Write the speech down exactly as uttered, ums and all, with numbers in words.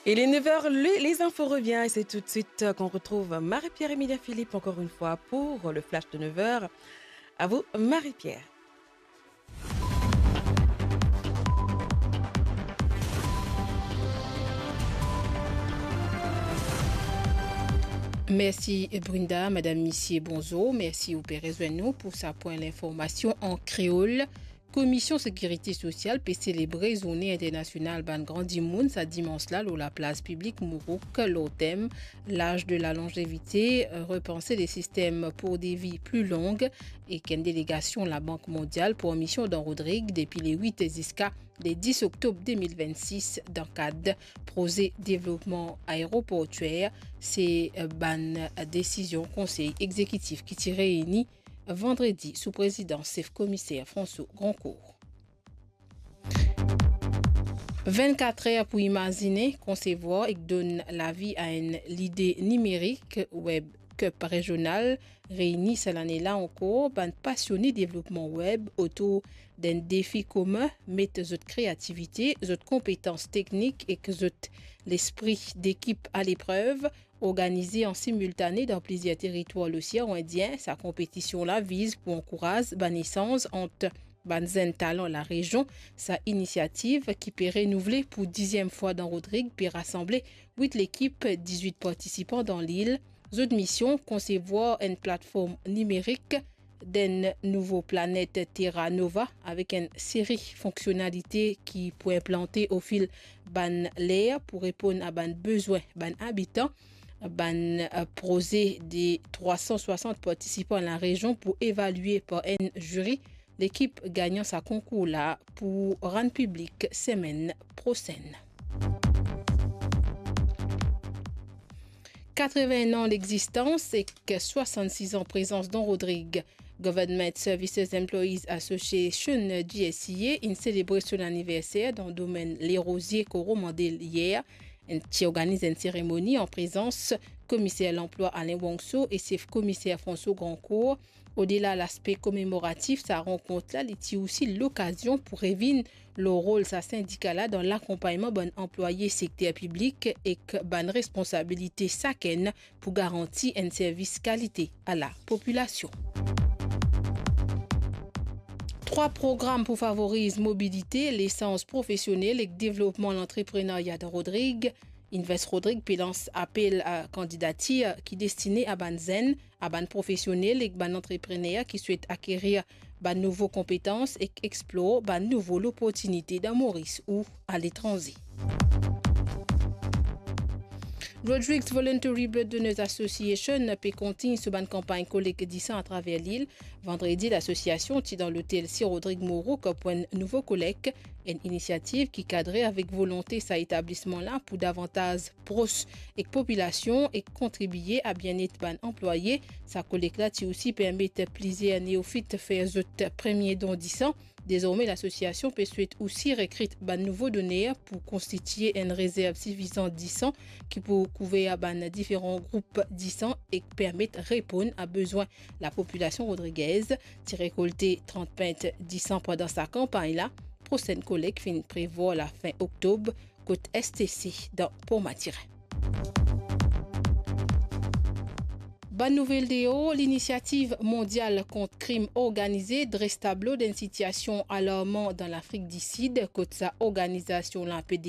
Il est neuf heures, le- les infos revient et c'est tout de suite qu'on retrouve Marie-Pierre Emilia Philippe encore une fois pour le flash de neuf heures. À vous, Marie-Pierre. Mersi Brenda, madam, misie, bonzour. Mersi ou pe rezwenn nou pou sa pwin linformasion an kreol. Komisyon Sekirite Sosyal pe selebre Zourne Internasyonal Bann Gran Dimoun sa dimans la lor laplas piblik Mourouk lor tem L'âge de la longévité, repenser les systèmes pour des vies plus longues, ek enn delegasyon Labank Mondyal pou misyon dan Rodrig depi le wit ziska le dis oktob de mil vennsis dan kad proze devlopman aeroportyer. Se bann desizyon Konsey Egzekitif ki ti reyini vandredi sou prezidans sef komiser François Grandcourt. Vennkat er pou imazine, konsevwar ek donn lavi a enn lide nimerik, Web Cup Regional, reyini sa lane la ankor bann pasione devlopman web otour d'enn defi komin, met zot kreativite, zot konpetans teknik ek zot lespri dekip aleprev. Organize an similtane dan plizier teritwar Losean Indien, sa konpetisyon la viz pou ankouraz bann esanz ant bann zenn talan larezion. Sa inisiativ, ki pe renouvle pou diziem fwa dan Rodrig, pe rasanble wit lekip, dizwit partisipan dan lil. Zot misyon, konsevwar enn platform nimerik d'enn nouvo planet Terra Nova avek enn seri fonksionalite ki pou inplante ofil bann ler pou reponn a bann bezwin bann abitan. Bann, eh, proze de trwa san swasant partisipan larezion pou evalie par enn ziri. Lekip gagnan sa konkour la pou rann piblik semenn prosenn. Katreven an legzistans ek swasannsis an prezans dan Rodrig. Government Services Employees Association, G S E A, inn selebre so laniverser dan domenn Lerozie, Coromandel yer. Inn ti organiz enn seremoni an prezans Komiser Lanplwa Alain Wongso e Sef Komiser François Grandcourt. Odela laspe komemoratif sa rankont la, li ti osi lokazion pou revinn lor rol sa sindika la dan lakonpagnman bann anplwaye sekter piblik ek bann responsabilite sakenn pou garanti enn servis kalite a lapopilasion. Trwa program pou favoriz mobilite, lesans profesionel ek devlopman lantreprenarya dan Rodrig. Invest Rodrig pe lans apel a kandidatir ki destine a bann zenn, a bann profesionel ek bann antreprener ki swet akerir bann nouvo konpetans ek explor bann nouvo loportinite dan Moris ou aletranze. Rodrigues Voluntary Blood Donors Association pe kontign so bann kanpagn kolek disan atraver lil. Vandredi, lasosiasion ti dan lotel Sir Rodrig Moreau pou enn nouvo kolek, enn inisiativ ki kadre avek volonte sa etablisman la pou davantaz pros ek popilasion ek kontribie a bienet bann anplwaye. Sa kolek la ti osi permet plizier neofit fer zot premie don disan. Dezorme, lasosiasion pe swet osi rekrit bann nouvo doner pou konstitie enn rezerv sifizan disan ki pou kouver bann diferan group disan ek permet reponn a bezwin lapopilasion rodrigez. Ti rekolte trant pint disan pandan sa kanpagn la. Prosenn kolek finn prevwar lafin oktob kot S T C dan Port Mathurin. Bann nouvel deor, Linisiativ Mondial Kont Krim Organize dres tablo d'enn sitiasion alarman dan Lafrik Disid, kot sa organizasion la pe